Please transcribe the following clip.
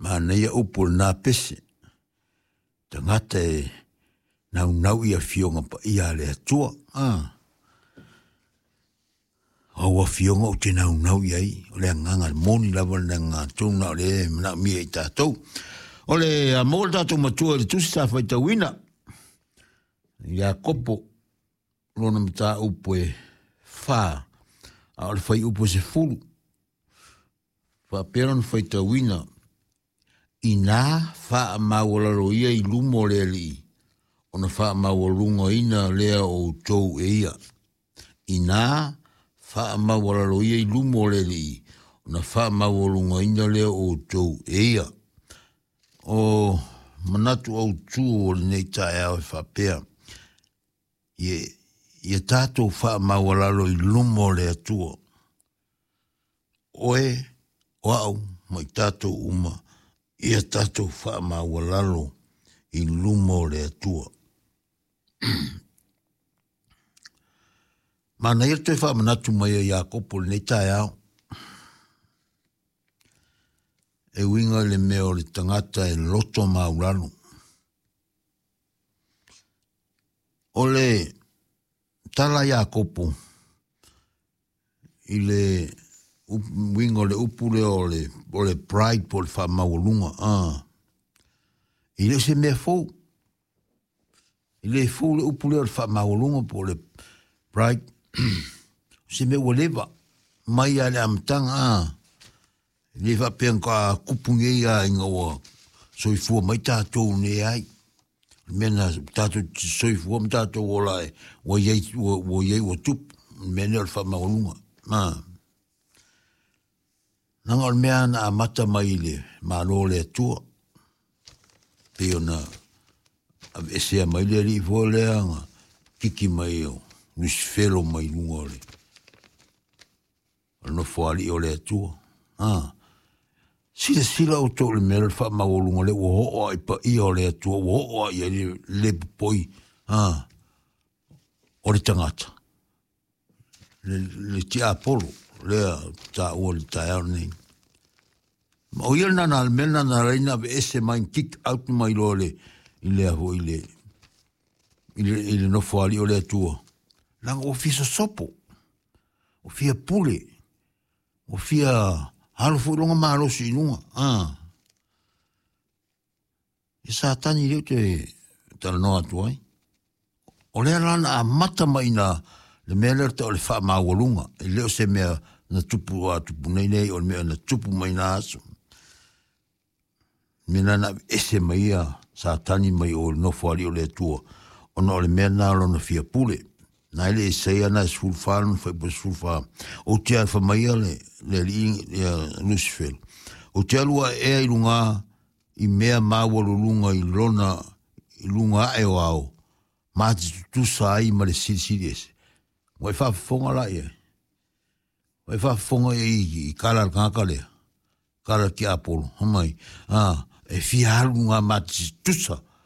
Manaia upu o lena pese, tagata e naunau i afioga paia a le Atua. A. Au afioga ou te naunau i ai, o le agaga moni lava le agaga tonu na o le manaomia i tatou. O le a maua le tatou matua i le tusi sa faitauina, Iakopo, lona mataupu e 4, a o le fuaiupu e 10. Faapea lona faitauina, Inā faamaualalo ia i luma o le Alii, ona faamaualugaina lea o outou e ia. Inā faamaualalo ia i luma o le Alii, ona faamaualugaina lea o outou e ia. O manatu autū o lenei taeao e faapea, ia tatou faamaualalo i luma o le Atua. Oe, o au, ma i tatou uma, ia tatou faamaualalo i luma o le Atua. Manaia le toe faamanatu mai o Iakopo i lenei taeao. E uiga i le mea o le tagata e loto maulalo. O le tala a Iakopo i le uiga o le upu lea o le, o le pride po o le faamaualuga, e le o se mea fou. E le fou le upu lea o le faamaualuga po o le pride. O se mea ua leva mai lava i le amataga, e le faapea na tupu nei lava ina ua soifua mai tatou nei ai. O le mea na tatou soifua ma tatou ola ai, ua iai, ua iai ua tupu, le mea lea o le faamaualuga. Leaga o le mea na amata mai i le Malo o le Atua, pei ona aveesea mai le alii foi lea na kiki mai o Lusifelo mai luga o le nofoalii o le Atua. Silasila outou i le mea lea o le faamaualuga lea ua oo lava i paia o le Atua, ua oo lava i ai le le popoi o le tagata, le tiapolo lea taua i le taeao lenei. Ma o ia lena na, le mea lena na ala ai ona aveese mai, kick out mai loa le, i le foi i le, i le nofoalii o le Atua. Leaga ua fia sosopo, ua fia pule, ua fia alo foi lona malosi i luga. E Satani lea ou te talanoa atu ai. O lea la na amata mai ina le mea lea o le tau o le faamaualuga. E le o se mea na tupu a tupu nei nei, o le mea na tupu mai na aso. Mea na na ese mai ia Satani mai o le nofoalii o le Atua, ona o le mea na lona fia pule. Na ele Isaia na 14 lona fuaiupu 14. Ou te alu mai ia le alii ia Lucifer. Ou te alu ae ea i luga i mea maualuluga i lona i luga ae o ao, ma te tutusa ai ma le Silisili Ese. Ua e faafofoga la i ai? Ua e faafofoga i i kala a le tagata lea? Kala tiapolo, fai mai, e fia alu luga ma te tutusa.